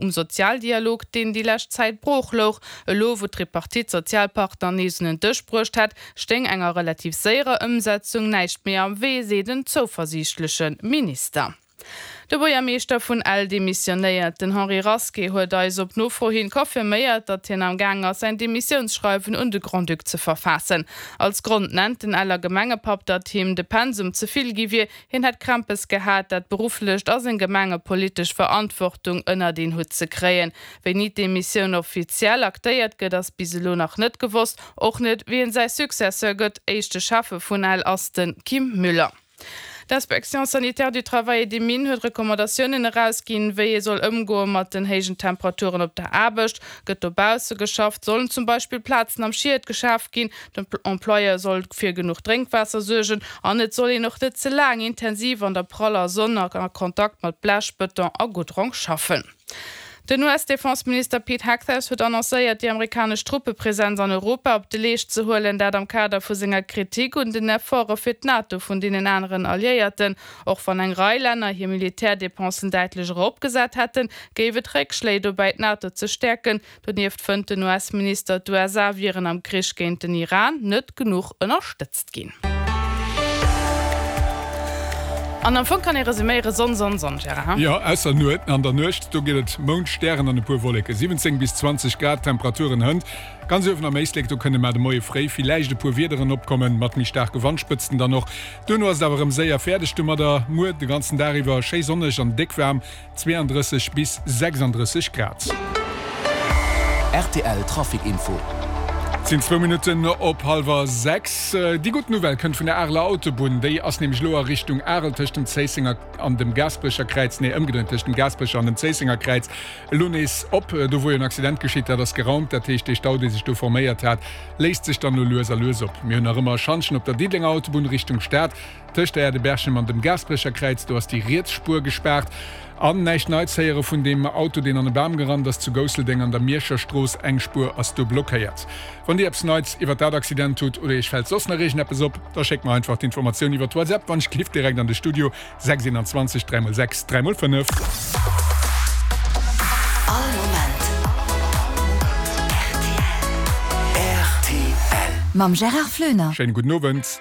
um Sozialdialog, deen déi lescht Zäit brooch louch. Elo, wou d'Tripartite d'Sozialpartner nees un en Dësch bruecht hätt, stéing enger relativ séierer Ëmsetzung näischt méi am Wee, seet en zouversiichtleche Minister. De Buergermeeschter vun Ell demissionéiert. Den Henri Rasqué huet eis op Nofro hin confirméiert, datt hien am Gaang ass, säin Demissiounsschreiwen un de Grand-Duc ze verfaassen. Als Grond nennt den Eller Gemengepapp, datt him de Pensum ze vill gi wier. Hien hätt Krämpes gehat, dat berufflecht a seng gemengepolitesch Verantwortung ënnert een Hutt ze kréien. Wéini d'Demissioun offiziell aktéiert gëtt, ass bis elo nach net gewosst. Och net, wien säi Successeur gëtt. Éischte Schäffe vun Ell ass de Kim Müller. D'Inspection sanitaire du travail et des mines huet Recommandatiounen erausginn, wéi ee soll ëmgoe mat den héijen Temperaturen op der Aarbecht. Gëtt dobausse geschafft, sollen zum Beispill Plazen am Schiet geschaf ginn, den Employeur soll fir genuch Drénkwaasser suergen an et soll een och net ze laang intensiv an der praller Sonn a Kontakt mat Blech, Bëton a Goudrong schaffen. Den US-Defenseminister Pete Hegseth huet annoncéiert, déi amerikanesch Truppepresenz an Europa op de Leescht ze huelen, dat am Kader vu senger Kritik un den Efforte fir d'NATO vun deenen aneren Alliéierten. Och wann eng Rei Länner hir Militärdepensen däitlech eropgesat hätten, géif et Réckschléi dobäi, d'NATO ze stäerken. Donieft fënnt den US-Minister, d'USA wieren am Krich géint den Iran net genuch ënnerstëtzt ginn. An am Fong kann ee resuméieren, Sonn, Sonn, Sonn, Gérard, hein? Jo, ausser Nuet, an der Nuecht, do gëtt et Mound, Stären an e puer Wolleken. 17 bis 20 Grad Temperaturen hënt. Ganz uewen am Éislek, do kënne mar de Moie fréi villäicht e puer Wiederen opkommen, mat méi staarke Wandspëtzten dann och. Duerno ass et awer erëm séier fäerdeg domadder. Muer de ganzen Dag iwwer schéi sonneg an déck waarm, 32 bis 36 Grad. Rtl Trafic Info. Et sinn zwou Minutten op hallwer 6. Déi gutt Nouvelle kënnt vun der Areler Autobunn. Déi ass nämlech elo a Richtung Arel tëscht dem Zéissenger an dem Gaasperecher Kräiz, nee ëmgedréint, tëscht dem Gaasperecher an dem Zéissenger Kräiz elo nees op. Do wor jo en Accident geschitt, dat ass geraumt. Dat heescht, dee Stau, dee sech do forméiert hat, léist sech dann elo lues a lues op. Mir hunn nach ëmmer e Schantjen op der Diddelenger Autobunn Richtung Stad. Tëscht der Aire de Berchem an dem Gaasperecher Kräiz, do ass déi riets Spuer gespaart. An näischt Neits héiere vun deem Auto, deen an e Bam gerannt ass zu Gousseldeng an der Mierscher Strooss. Eng Spuer ass do blockéiert. Wann Dir eppes Neits iwwer dat Accident hutt oder Iech fält soss nach iergendeppes op, da schéckt mer einfach d'Informatioun iwwer WhatsApp, wann ech giff, direkt an de Studio, 6 21 3 x 6 3 x 5. All Moment rtl. Mam Gérard Floener. Schéine gudden Owend.